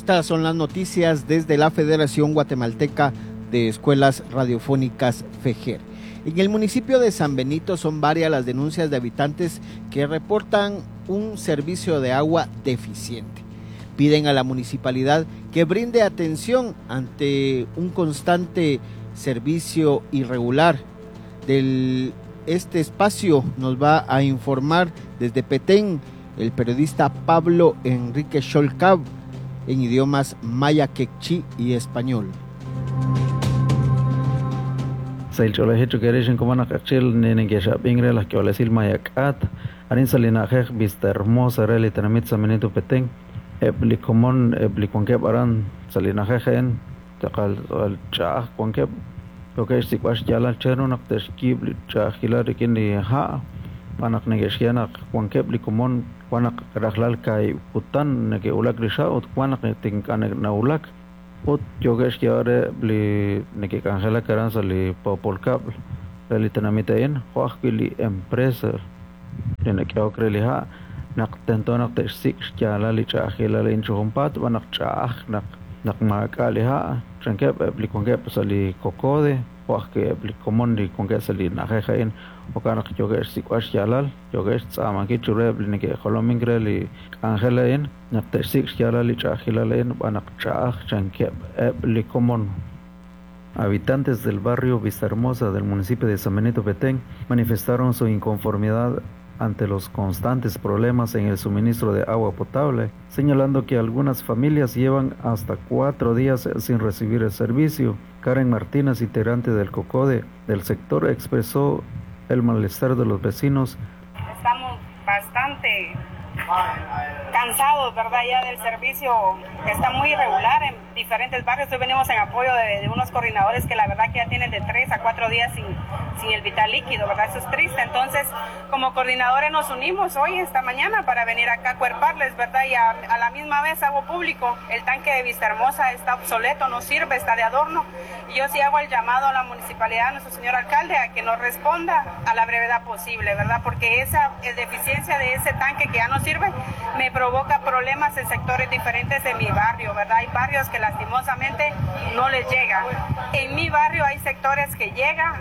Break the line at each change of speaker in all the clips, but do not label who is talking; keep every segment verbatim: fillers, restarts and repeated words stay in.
Estas son las noticias desde la Federación Guatemalteca de Escuelas Radiofónicas FEGER. En el municipio de San Benito son varias las denuncias de habitantes que reportan un servicio de agua deficiente. Piden a la municipalidad que brinde atención ante un constante servicio irregular. Del este espacio nos va a informar desde Petén el periodista Pablo Enrique Xolcab en idiomas maya, quechí y español.
Arin salina'jej Vista Hermosa re li tenamit San Benito Petén eb' li komon eb' li wankeb' aran sa' li na'ajej a'in tz'aqal tz'aqal ch'a'aj wankeb' yookeb' xsik'b'al xyaalal chanru naq te'xyiib' li ch'a'ajkilal rik'in li ha' xb'aan naq neke'xye naq wankeb' li komon wan naq rajlal kaahib' kutan neke'wulak li xa' ut wan naq ink'a' nawulak ut yookeb' xyeeb'al re eb' li neke'k'anjelak aran sa' li poopol kab'l re li tenamit a'in jo' ajwi' li empresa li nak'ehok re li ha' naq tento naq te'xsik' xyaalal li ch'a'ajkilal a'in chi junpaat xb'aan naq ch'a'aj naq naq maak'a' li ha' chankeb' eb' li wankeb' sa' li COCODE jo' ajwi' eb' li komon li wankeb' sa' li na'ajej a'in jo'kan naq yookeb' xsik'b'al xyaalal yookeb' xtz'aamankil chiru eb' li neke'jolomink re li k'anjel a'in naq te'xsik' xyaalal li ch'a'ajkilal a'in xb'aan naq ch'a'aj chankeb' eb' li komon. Habitantes del barrio Vista Hermosa del municipio de San Benito Petén manifestaron su inconformidad ante los constantes problemas en el suministro de agua potable, señalando que algunas familias llevan hasta cuatro días sin recibir el servicio. Karen Martínez, integrante del COCODE del sector, expresó el malestar de los vecinos.
Estamos bastante cansados, ¿verdad?, ya del servicio que está muy irregular en diferentes barrios. Hoy venimos en apoyo de, de unos coordinadores que la verdad que ya tienen de tres a cuatro días sin, sin el vital líquido, ¿verdad? Eso es triste. Entonces, como coordinadores nos unimos hoy, esta mañana, para venir acá a cuerparles, ¿verdad? Y a, a la misma vez hago público, el tanque de Vista Hermosa está obsoleto, no sirve, está de adorno. Y yo sí hago el llamado a la municipalidad, a nuestro señor alcalde, a que nos responda a la brevedad posible, ¿verdad? Porque esa deficiencia de ese tanque que ya no sirve me provoca problemas en sectores diferentes de mi barrio, ¿verdad? Hay barrios que lastimosamente no les llega. En mi barrio hay sectores que llegan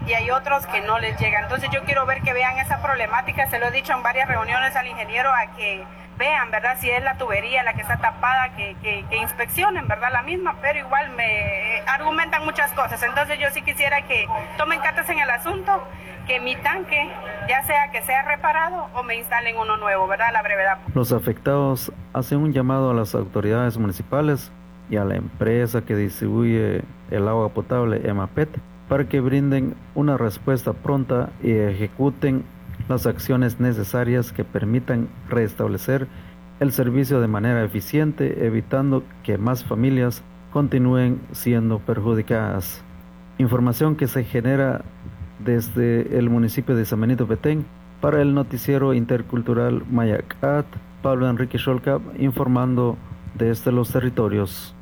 y hay otros que no les llegan. Entonces yo quiero ver que vean esa problemática, se lo he dicho en varias reuniones al ingeniero, a que vean, ¿verdad? Si es la tubería la que está tapada, que, que, que inspeccionen, ¿verdad? La misma, pero igual me argumentan muchas cosas. Entonces yo sí quisiera que tomen cartas en el asunto, que mi tanque, ya sea que sea reparado o me instalen uno nuevo, ¿verdad? A la brevedad.
Los afectados hacen un llamado a las autoridades municipales y a la empresa que distribuye el agua potable, EMAPET, para que brinden una respuesta pronta y ejecuten las acciones necesarias que permitan restablecer el servicio de manera eficiente, evitando que más familias continúen siendo perjudicadas. Información que se genera desde el municipio de San Benito Petén para el noticiero intercultural Mayacat, Pablo Enrique Xolcab, informando desde los territorios.